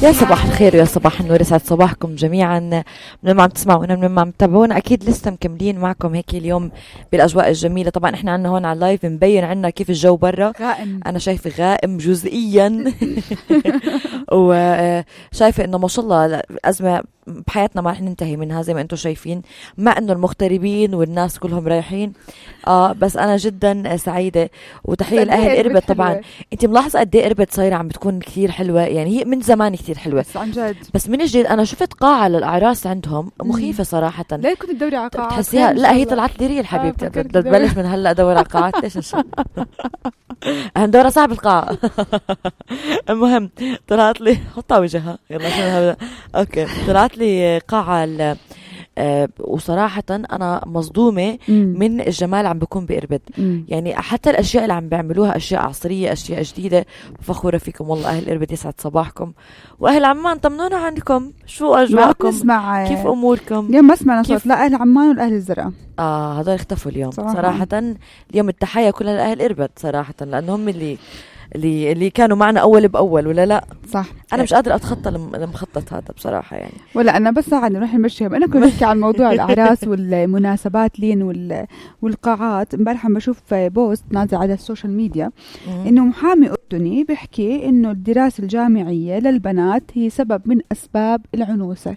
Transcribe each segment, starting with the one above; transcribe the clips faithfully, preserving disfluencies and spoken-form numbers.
يا صباح الخير ويا صباح النور، يسعد صباحكم جميعا من ما عم تسمعونا من ما عم تتابعونا. اكيد لسه مكملين معكم هيك اليوم بالاجواء الجميله. طبعا احنا عنا هون على اللايف مبين عنا كيف الجو برا غائم. انا شايفه غائم جزئيا وشايفه انه ما شاء الله ازمه بحياتنا ما رح ننتهي منها زي ما انتم شايفين، مع انه المغتربين والناس كلهم رايحين. اه بس انا جدا سعيده وتحيه لاهل اربد. طبعا انت ملاحظه قد ايه اربد صايره عم بتكون كثير حلوه، يعني هي من زمان كثير حلوه بس عن جد. بس من الجديد انا شفت قاعه للاعراس عندهم مخيفه صراحه. ليه كنت تدوري على قاعات؟ تحسيها لا هي طلعت لي ريال حبيبتي. بدي تبلش من هلا ادور على قاعات. ليش نشوف هندور صاحب القاعه. المهم طلعت لي حطها وجهها يلا شو هذا. اوكي طلعت لي قاعه أه وصراحة أنا مصدومة مم. من الجمال عم بكون بإربد. مم. يعني حتى الأشياء اللي عم بيعملوها أشياء عصرية، أشياء جديدة. فخورة فيكم والله أهل إربد، يسعد صباحكم. وأهل عمان طمنونا عنكم، شو أجواءكم؟ كيف أموركم؟ اليوم ما سمعنا صوت لا أهل عمان ولا أهل الزرقاء. آه هذول اختفوا اليوم صراحة. صراحة اليوم التحية كلها لأهل إربد صراحة، لأنهم اللي اللي اللي كانوا معنا اول باول ولا لا. صح. انا مش قادره اتخطى المخطط هذا بصراحه يعني. ولا انا بس عادي نروح نمشيها. انا كنت بحكي عن موضوع الاعراس والمناسبات لين والقاعات. امبارح عم بشوف بوست نازل على السوشيال ميديا انه محامي اردني بيحكي انه الدراسه الجامعيه للبنات هي سبب من اسباب العنوسه.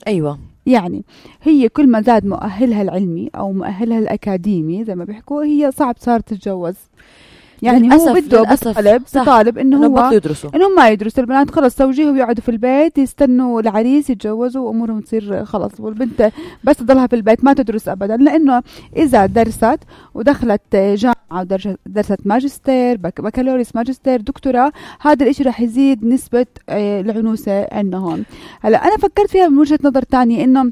ايوه يعني هي كل ما زاد مؤهلها العلمي او مؤهلها الاكاديمي زي ما بيحكوا هي صعب صار تتجوز. يعني هو بده بطالب بطالب انه هو انهم ما يدرسوا البنات، خلص زوجيه ويقعدوا في البيت يستنوا العريس يتجوزوا وامورهم تصير خلص، والبنت بس تضلها في البيت ما تدرس ابدا. لانه اذا درست ودخلت جامعه ودرست ماجستير بكالوريوس ماجستير دكتوراه، هذا الاشي رح يزيد نسبه العنوسه عندهم. هلا انا فكرت فيها من وجهه نظر تانية، انه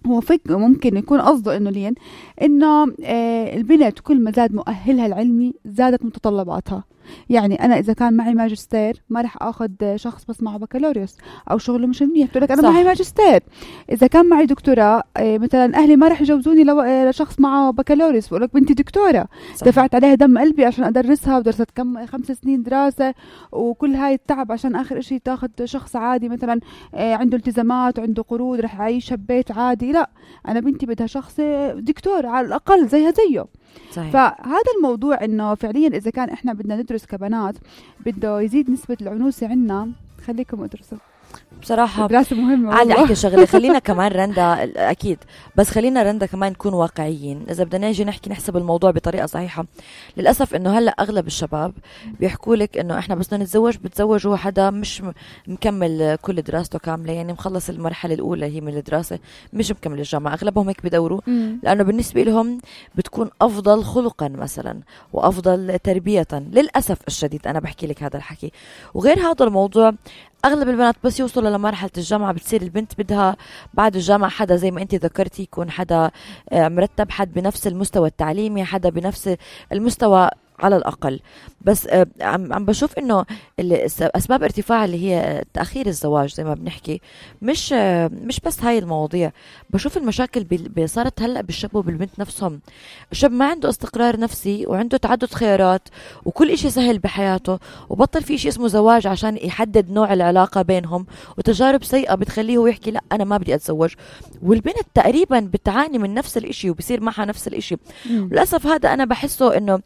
هو فك ممكن يكون قصده انه لين انه آه البنت كل ما زاد مؤهلها العلمي زادت متطلباتها. يعني انا اذا كان معي ماجستير ما رح اخذ شخص بس معه بكالوريوس او شغله مش منيح، بتقول لك انا صح. معي ماجستير. اذا كان معي دكتوراه آه مثلا اهلي ما رح يجوزوني لو آه لشخص معه بكالوريوس، بقول لك بنتي دكتوره صح. دفعت عليها دم قلبي عشان ادرسها ودرست كم خمس سنين دراسه وكل هاي التعب عشان اخر شيء تاخذ شخص عادي مثلا آه عنده التزامات وعنده قروض رح يعيش ببيت عادي. لا انا بنتي بدها شخص دكتور على الاقل زيها زيه. صحيح. فهذا الموضوع انه فعليا اذا كان احنا بدنا ندرس كبنات بده يزيد نسبة العنوسة عنا، خليكم ادرسوا بصراحة. دراسة مهمة. عادي احكي شغلة. خلينا كمان رندا اكيد، بس خلينا رندا كمان نكون واقعيين. اذا بدنا نيجي نحكي نحسب الموضوع بطريقة صحيحة، للأسف انه هلا اغلب الشباب بيحكوا لك انه احنا بس بدنا نتزوج بتزوجوا حدا مش مكمل كل دراسته كاملة، يعني مخلص المرحلة الاولى هي من الدراسة مش مكمل الجامعة. اغلبهم هيك بدوروا م. لانه بالنسبة لهم بتكون افضل خلقا مثلا وافضل تربية. للأسف الشديد انا بحكي لك هذا الحكي. وغير هذا الموضوع اغلب البنات بس يوصلوا لمرحله الجامعه بتصير البنت بدها بعد الجامعه حدا زي ما انت ذكرتي يكون حدا مرتب، حد بنفس المستوى التعليمي، حدا بنفس المستوى على الأقل. بس عم عم بشوف إنه أسباب ارتفاع اللي هي تأخير الزواج زي ما بنحكي مش مش بس هاي المواضيع. بشوف المشاكل صارت هلأ بالشاب وبالبنت نفسهم. الشاب ما عنده استقرار نفسي وعنده تعدد خيارات وكل إشي سهل بحياته، وبطل في إشي اسمه زواج عشان يحدد نوع العلاقة بينهم، وتجارب سيئة بتخليه هو يحكي لا أنا ما بدي أتزوج. والبنت تقريبا بتعاني من نفس الإشي وبصير معها نفس الإشي. للأسف هذا أنا بحسه إنه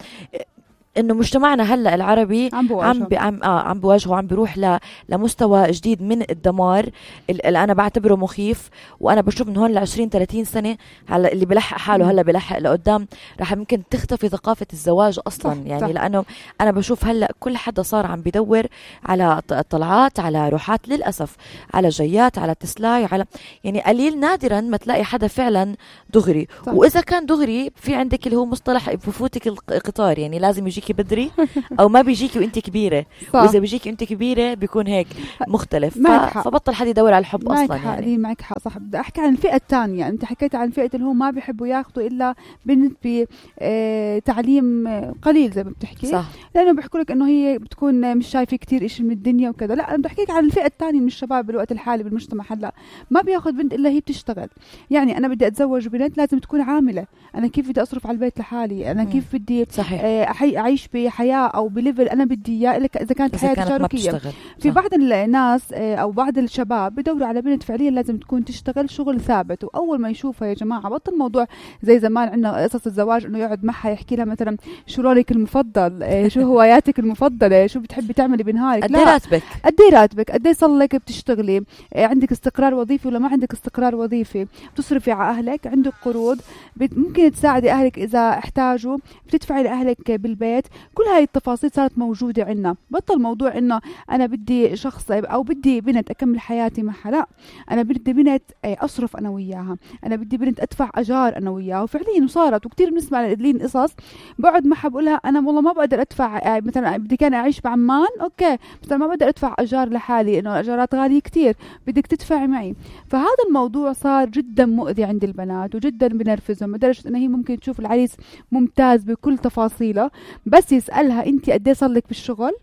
انه مجتمعنا هلا العربي عم عم بي عم اه عم بواجهه وعم بيروح ل لمستوى جديد من الدمار اللي انا بعتبره مخيف. وانا بشوف من هون ل عشرين ثلاثين سنه هلا اللي بلحق حاله هلا بلحق لقدام راح ممكن تختفي ثقافه الزواج اصلا. صح يعني صح. لانه انا بشوف هلا كل حدا صار عم بيدور على طلعات، على روحات، للاسف على جيات، على تسلاي، على يعني قليل نادرا ما تلاقي حدا فعلا دغري. صح. واذا كان دغري في عندك اللي هو مصطلح بفوتك القطار، يعني لازم يجيك بدري او ما بيجيكي وانت كبيره. واذا بيجيكي وانت كبيره بيكون هيك مختلف. ف... فبطل حد يدور على الحب اصلا. يعني معك حق صح. بدي احكي عن الفئه الثانيه. يعني انت حكيت عن فئه اللي هو ما بيحبوا ياخذوا الا بنت بتعليم قليل زي ما بتحكي. صح. لانه بيحكوا لك انه هي بتكون مش شايفه كتير شيء من الدنيا وكذا. لا انا بدي احكيك عن الفئه الثانيه من الشباب بالوقت الحالي بالمجتمع هلا ما بياخذ بنت الا هي بتشتغل. يعني انا بدي اتزوج بنت لازم تكون عامله. انا كيف بدي اصرف على البيت لحالي؟ انا كيف بدي اعيش أعيش بحياة أو بليفل أنا بدي إياه إلا إذا كانت حياة تشاركية. في بعض الناس أو بعض الشباب بدوروا على بنت فعليا لازم تكون تشتغل شغل ثابت، وأول ما يشوفها يا جماعة بطل موضوع زي زمان عندنا قصص الزواج إنه يقعد معها يحكي لها مثلا شو لونك المفضل، شو هواياتك المفضلة، شو بتحبي تعملي بنهارك. قد ايه راتبك قد ايه راتبك قد ايه صار لك بتشتغلي، عندك استقرار وظيفي ولا ما عندك استقرار وظيفي، بتصرفي على أهلك، عندك قروض، ممكن تساعدي أهلك إذا احتاجوا، بتدفعي لأهلك بالبيت. كل هاي التفاصيل صارت موجودة عنا. بطل موضوع إنه أنا بدي شخص أو بدي بنت أكمل حياتي معها، لا أنا بدي بنت أصرف أنا وياها، أنا بدي بنت أدفع أجار أنا وياها. وفعليا وصارت، وكتير بنسمع لين قصص بقعد معها بقولها أنا والله ما بقدر أدفع، مثلا بدي كان أعيش بعمان أوكي مثلا ما بقدر أدفع أجار لحالي إنه الأجارات غالية كتير، بدك تدفعي معي. فهذا الموضوع صار جدا مؤذي عند البنات وجدا بنرفزهم لدرجة إنه هي ممكن تشوف العريس ممتاز بكل تفاصيله، بس يسألها أنت قد ايه صار لك بالشغل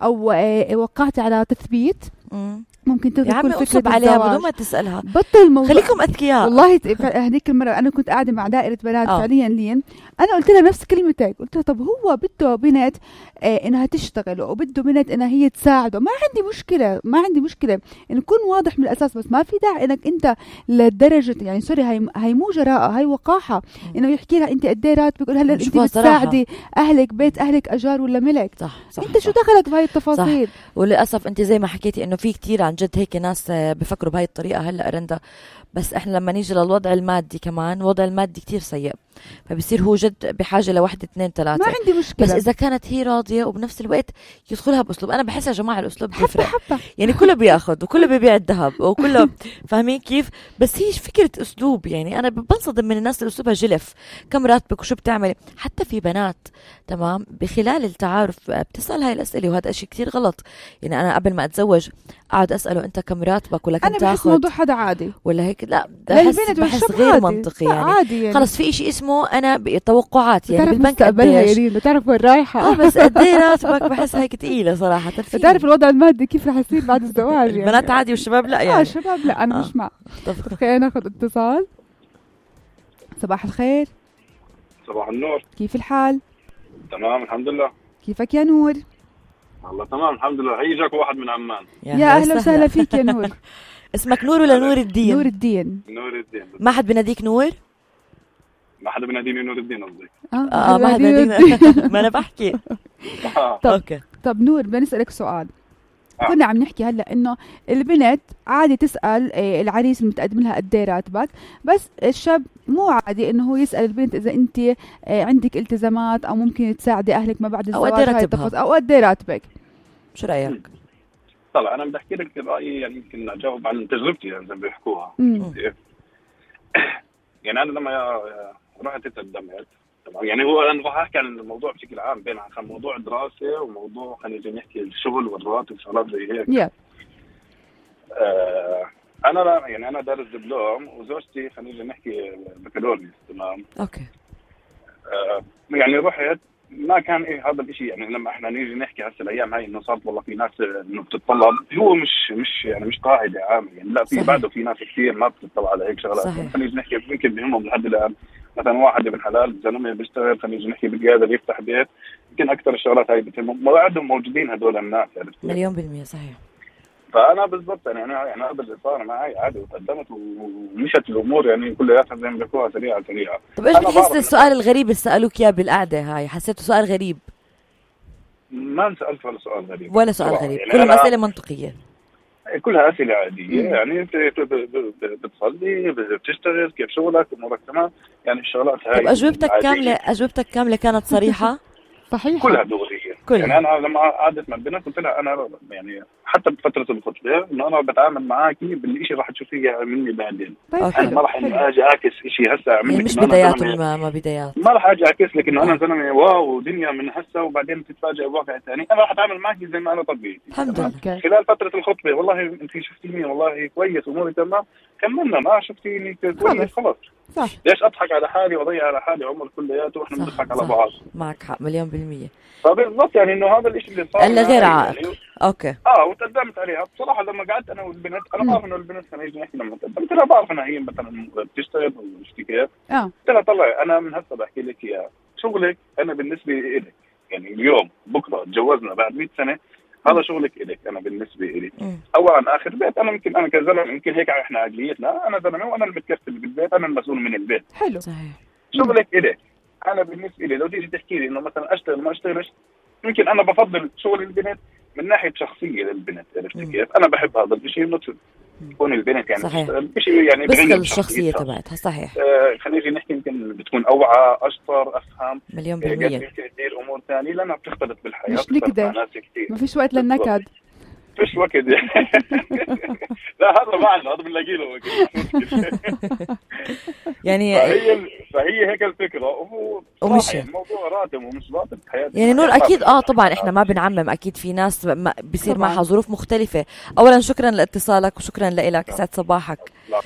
أو وقعتي على تثبيت مم. ممكن تلغي كل فكرة عليها بدون ما تسألها. بطل الموضوع، خليكم أذكياء. والله هذيك المرة أنا كنت قاعدة مع دائرة بنات أوه. فعليا لين أنا قلت لها نفس كلمتك، قلت لها طب هو بده بنت آه إنها تشتغل وبده بنت إنها هي تساعده، ما عندي مشكلة ما عندي مشكلة إنه يكون واضح من الأساس، بس ما في داعي إنك أنت لدرجة يعني سوري هاي هاي مو جراءة، هاي وقاحة إنه يحكي لها أنت قد إيه راتبك، هلا أنت بتساعدي أهلك، بيت أهلك أجار ولا ملك. صح صح أنت صح. شو دخلك بهاي التفاصيل؟ صح. وللأسف أنت زي ما حكيتي إنه في كتير عن جد هيك ناس بفكروا بهاي الطريقة هلأ رندا، بس إحنا لما نيجي للوضع المادي كمان الوضع المادي كتير سيء، فبصير هو جد بحاجة لواحد اثنين ثلاثة. ما عندي مشكلة، بس إذا كانت هي راضية وبنفس الوقت يدخلها بأسلوب. أنا بحس يا جماعة الأسلوب بيفرق، حبة. يعني كله بياخد وكله بيبيع الذهب وكله فاهمين كيف، بس هي فكرة أسلوب. يعني أنا بنصدم من الناس اللي أسلوبها جلف، كم راتبك وشو بتعملي. حتى في بنات تمام بخلال التعارف بتسأل هاي الأسئلة، وهذا إشي كتير غلط. يعني أنا قبل ما أتزوج قاعد أسأله أنت كم راتبك ولا كم تاخد، أنا بحس موضوع هذا عادي ولا هيك، لا بحس, بحس غير عادي. منطقي. يعني, عادي يعني خلص في إشي اسمه أنا بتوقعات، يعني بالبنك قديش يعني بتعرف وين رايحة. اه بس قد ايه راتبك بحس هيك تقيلة صراحة. بتعرف الوضع المادي كيف رح يصير بعد الزواج. يعني البنات عادي والشباب لا يعني. اه الشباب لا أنا آه. مش مع. طب خلينا ناخذ اتصال. صباح الخير. صباح النور. كيف الحال؟ تمام الحمد لله. كيفك يا نور؟ والله تمام الحمد لله. هي جاك واحد من عمان. يا, يا أهلا وسهلا فيك يا نور. اسمك نور ولا نور الدين؟ نور الدين. نور الدين. ما حد بناديك نور؟ ما حدا بناديني نور الدين قصدي. اه, آه ما حدا بناديك. ما انا بحكي. طب اوكي طب نور بدي اسالك سؤال. آه. كنا عم نحكي هلا انه البنت عادي تسال العريس المتقدم لها قد ايه راتبك، بس الشاب مو عادي انه هو يسال البنت اذا انت عندك التزامات او ممكن تساعدي اهلك ما بعد الزواج، او قد ايه راتبها او قد ايه راتبك. شو رايك؟ طلع انا بدي احكي لك رايي، يعني يمكن اجاوب عن تجربتي يعني زي ما بيحكوها. يعني انا لما رحت تقدمت تمام، يعني هو انا راح احكي عن الموضوع بشكل عام بين عن موضوع دراسه وموضوع خلينا نحكي الشغل والراتب وشغلات زي هيك. yeah. آه انا لا يعني انا دارس دبلوم وزوجتي خلينا نحكي بكالوريوس تمام. اوكي. آه يعني رحت ما كان ايه هذا الشيء، يعني لما احنا نيجي نحكي هسه الايام هاي انه صارت والله في ناس انه بتطلب، هو مش مش يعني مش قاعده عامه يعني، لا في بعده في ناس كثير ما بتطلع على هيك شغلات. خلينا نحكي يمكن بهمهم لحد الان مثلا واحد ابن حلال زلمه بيشتغل خلينا نحكي بقادر يفتح بيت، يمكن اكثر الشغلات هاي بتهمهم، ما عندهم موجودين هدول الناس يعني. مليون بالمية صحيح. فانا بالضبط يعني انا يعني هذا اللي صار معي عادي، وتقدمت ومشت الامور يعني كلياتها زي ما بيحكوها سريعه سريعه. طب ايش بتحس السؤال الغريب اللي سالوك اياه بالقعده هاي؟ حسيته سؤال غريب؟ ما انسالت ولا سؤال غريب ولا سؤال غريب، يعني كلها اسئله منطقيه، كلها اسئله عاديه. مم. يعني انت بتصلي بتشتغل كيف شغلك امورك تمام، يعني الشغلات هاي. طب اجوبتك كامله اجوبتك كامله كانت صريحه؟ صحيح كلها دغريه. يعني انا لما قعدت مع البنت قلت لها انا يعني حتى بفتره الخطبه انه انا بتعامل معاكي بالشيء راح تشوفيه مني بعدين. انا ما راح اجي اعكس شيء هسه اعمل يعني مش بدايات ما, ما بدايات، ما راح اجي اعكس لك انه انا زلمه واو دنيا من هسه وبعدين تتفاجئ بواقع ثاني. انا راح اتعامل معك زي ما انا طبيعي الحمد لله. خلال فتره الخطبه والله انت شفتيني والله كويس اموري تمام، كملنا. ما شفتيني كويس خلاص صح. ليش اضحك على حالي واضيع على حالي عمر كلياته واحنا بنضحك على بعض؟ معك حق مليون بالمية. فبالضبط يعني انه هذا الشيء اللي صار الا غير عائق. يعني اوكي اه وتقدمت عليها بصراحه. لما قعدت انا والبنت انا بعرف انه البنت خلينا نحكي لما تقدمت لها بعرف انها هي مثلا بتشتغل ومش كيف. اه قلت لها طلعي انا من هسه بحكي لك اياها شغلك انا بالنسبه لك يعني اليوم بكره تجوزنا بعد مئة سنه، هذا شغلك إليك. أنا بالنسبة إلي أولا آخر بيت، أنا ممكن أنا كزلمة يمكن هيك إحنا عقليتنا، أنا زلمة وأنا المتكفل بالبيت، أنا المسؤول من البيت. حلو صحيح. شغلك إليك. أنا بالنسبة لي لو تيجي تحكي لي إنه مثلا أشتغل ما أشتغلش، يمكن أنا بفضل شغل البنت من ناحية شخصية للبنت. عرفت كيف؟ أنا بحب هذا الشيء إنه تكون البنت يعني تشتغل بشيء يعني بغير الشخصية تبعتها. صحيح. آه خلينا نحكي يمكن بتكون أوعى أشطر أفهم مليون بالمية. يمكن تدير أمور ثانية لأنها بتختلط بالحياة. مش نقدر. ما فيش وقت للنكد. فيش وقت يعني. لا هذا معنا، هذا بنلاقي له وقت. يعني فهي فهي هيك الفكرة. وهو ومش الموضوع راتب ومش راتب حياتي يعني نور. أكيد آه طبعا إحنا ما بنعمم، أكيد في ناس بيصير معها ظروف مختلفة. أولا شكرا لاتصالك وشكرا لك، سعد صباحك. لا.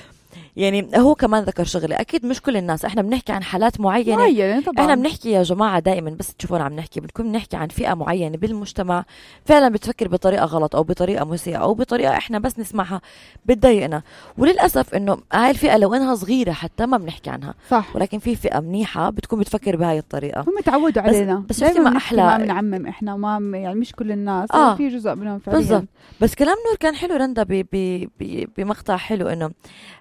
يعني هو كمان ذكر شغله، اكيد مش كل الناس، احنا بنحكي عن حالات معينه, معينة طبعاً. احنا بنحكي يا جماعه دائما بس تشوفونا عم نحكي بنكون بنحكي عن فئه معينه بالمجتمع فعلا بتفكر بطريقه غلط او بطريقه مسيئه او بطريقه احنا بس نسمعها بتضايقنا. وللاسف انه هاي الفئه لو انها صغيره حتى ما بنحكي عنها صح. ولكن في فئه منيحه بتكون بتفكر بهاي الطريقه. هم تعودوا علينا بس, بس ما احلى ما بنعمم احنا وما يعني مش كل الناس آه. في جزء منهم فعليا. بالضبط. بس كلام نور كان حلو رندا بمقطع حلو انه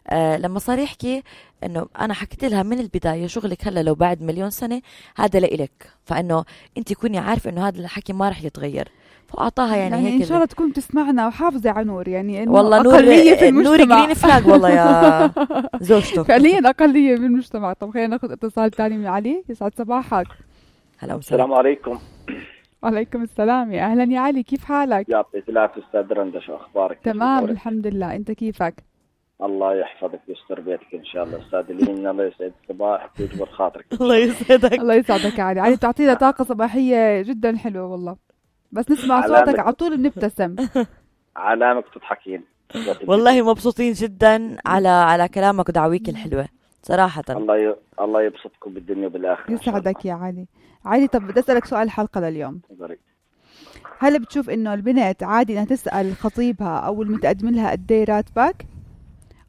آه لما صار يحكي انه انا حكيت لها من البدايه شغلك هلا لو بعد مليون سنه هذا لإلك، فانه انت كوني عارفه انه هذا الحكي ما رح يتغير. فاعطاها يعني, يعني هيك ان شاء الله تكون تسمعنا وحافظه على نور. يعني انه والله اقليه في المجتمع. نور جرين فلاج والله يا زوجته فعليا اقليه في المجتمع. طب خلينا ناخذ اتصال ثاني من علي. يسعد صباحك. هلا السلام عليكم. وعليكم السلام. يا اهلا يا علي، كيف حالك؟ يعطيك العافيه استاذ رندا، شو اخبارك؟ تمام الحمد لله، انت كيفك؟ الله يحفظك ويستر بيتك ان شاء الله. استاذ لين الله يسعد صباحك ويجبر خاطرك. الله يسعدك. الله يسعدك يا علي. علي بتعطينا طاقه صباحيه جدا حلوه والله، بس نسمع صوتك على طول بنبتسم. علامك تضحكين. والله مبسوطين جدا على على كلامك ودعويك الحلوه صراحه. الله ي... الله يبسطكم بالدنيا وبالاخره. يسعدك يا علي. علي طب بدي اسالك سؤال الحلقه لليوم. بريك. هل بتشوف انه البنت عادي انها تسال خطيبها او المتقدم لها قد ايه راتبك،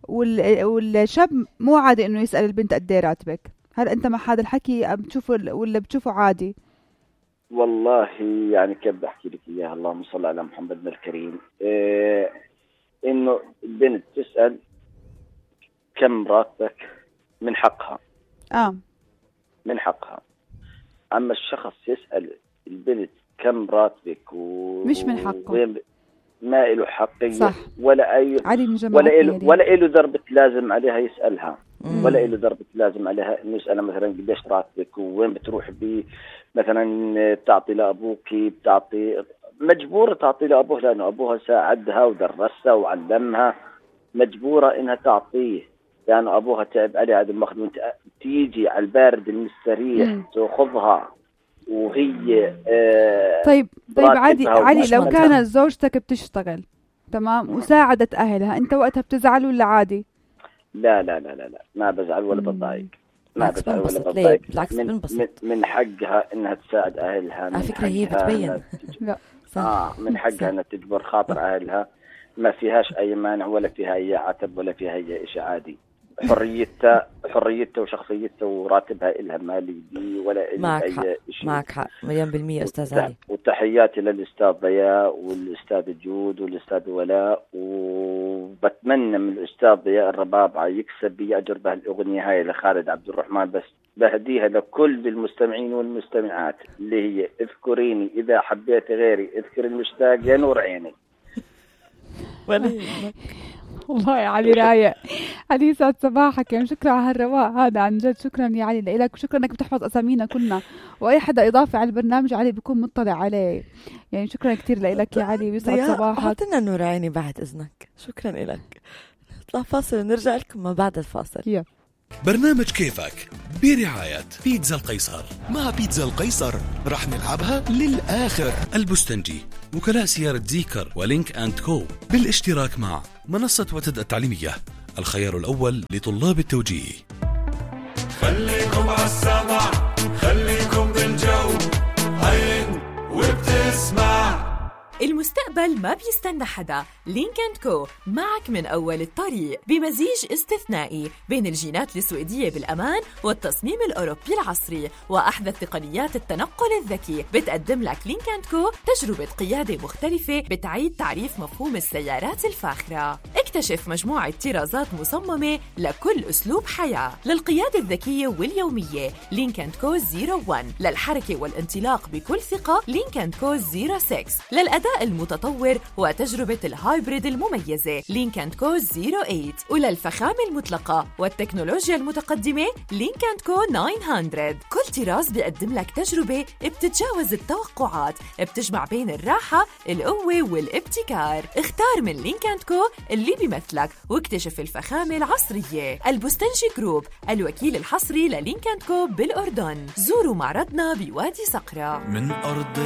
وال... والشاب مو عادي انه يسال البنت قد ايه راتبك؟ هل انت مع هذا الحكي بتشوفه ولا بتشوفه عادي؟ والله يعني كيف بحكي لك اياها، اللهم صل على محمد الكريم. إيه انه البنت تسال كم راتبك من حقها. اه من حقها. اما الشخص يسال البنت كم راتبك و... مش من حقه، وين... ما له حقية صح. ولا أي ولا له ولا له ضربة لازم عليها يسألها. مم. ولا له ضربة لازم عليها إنه يسألها مثلا قديش راتبك وين بتروح بي مثلا بتعطي لأبوك، بتعطي مجبورة تعطي لأبوه لأنه أبوها ساعدها ودرسها وعلمها، مجبورة إنها تعطيه لأنه أبوها تعب عليها هذا المخدوم. تيجي على البارد المستريح تأخذها وهي آه طيب طيب عادي علي لو كانت زوجتك بتشتغل تمام وساعدت أهلها، أنت وقتها بتزعل ولا عادي؟ لا لا لا لا, لا. ما بزعل ولا بتضايق. ما بزعل ولا بتضايق. بالعكس من, من, من حقها إنها تساعد أهلها. على فكرة هي بتبين لا آه من حقها إنها تجبر خاطر أهلها، ما فيهاش أي مانع ولا فيها أي عتب ولا فيها أي شيء، عادي. حريتها حريتها وشخصيتها وراتبها إلها مالي دي ولا إلها أي شيء. معك حق مليون بالمية أستاذ علي. وتحياتي للأستاذ ضياء والأستاذ جود والأستاذ ولاء، وبتمنى من الأستاذ ضياء الربابعة يكسب يأجر بها الأغنية هاي لخالد عبد الرحمن، بس بهديها لكل المستمعين والمستمعات اللي هي اذكريني إذا حبيت غيري، اذكر المشتاق يا نور عيني. والله يا علي رايق. علي يسعد صباحك، يعني شكرا على هالرواق هذا عن جد. شكرا يا علي لك وشكرا انك بتحفظ اسامينا كلنا، واي حدا اضافي على البرنامج علي بيكون مطلع عليه. يعني شكرا كثير لك يا علي ويسعد صباحك. حطينا نور عيني بعد اذنك. شكرا لك. نطلع فاصل ونرجع لكم ما بعد الفاصل. يا برنامج كيفك برعاية بيتزا القيصر. مع بيتزا القيصر رح نلعبها للآخر. البستنجي، وكلاء سيارة زيكر ولينك أند كو بالاشتراك مع منصة وتد التعليمية، الخيار الأول لطلاب التوجيه. خليكم عالسمع، خليكم بالجو، هين وبتسمع. المستقبل المستقبل ما بيستنى حدا. لينك أند كو معك من أول الطريق بمزيج استثنائي بين الجينات السويدية بالأمان والتصميم الأوروبي العصري وأحدث تقنيات التنقل الذكي. بتقدم لك لينك أند كو تجربة قيادة مختلفة بتعيد تعريف مفهوم السيارات الفاخرة. اكتشف مجموعة طرازات مصممة لكل أسلوب حياة. للقيادة الذكية واليومية لينك أند كو صفر واحد، للحركة والانطلاق بكل ثقة لينك أند كو صفر ستة، للأداء المتطور وتجربة الهايبريد المميزة لينك أند كو صفر ثمانية، وللفخامة المطلقة والتكنولوجيا المتقدمة لينك أند كو تسعمية. كل طراز بيقدم لك تجربة بتتجاوز التوقعات، بتجمع بين الراحة، القوة والابتكار. اختار من لينك أند كو اللي بيمثلك واكتشف الفخامة العصرية. البستنجي جروب، الوكيل الحصري للينك أند كو بالأردن. زوروا معرضنا بوادي صقرة. من أرض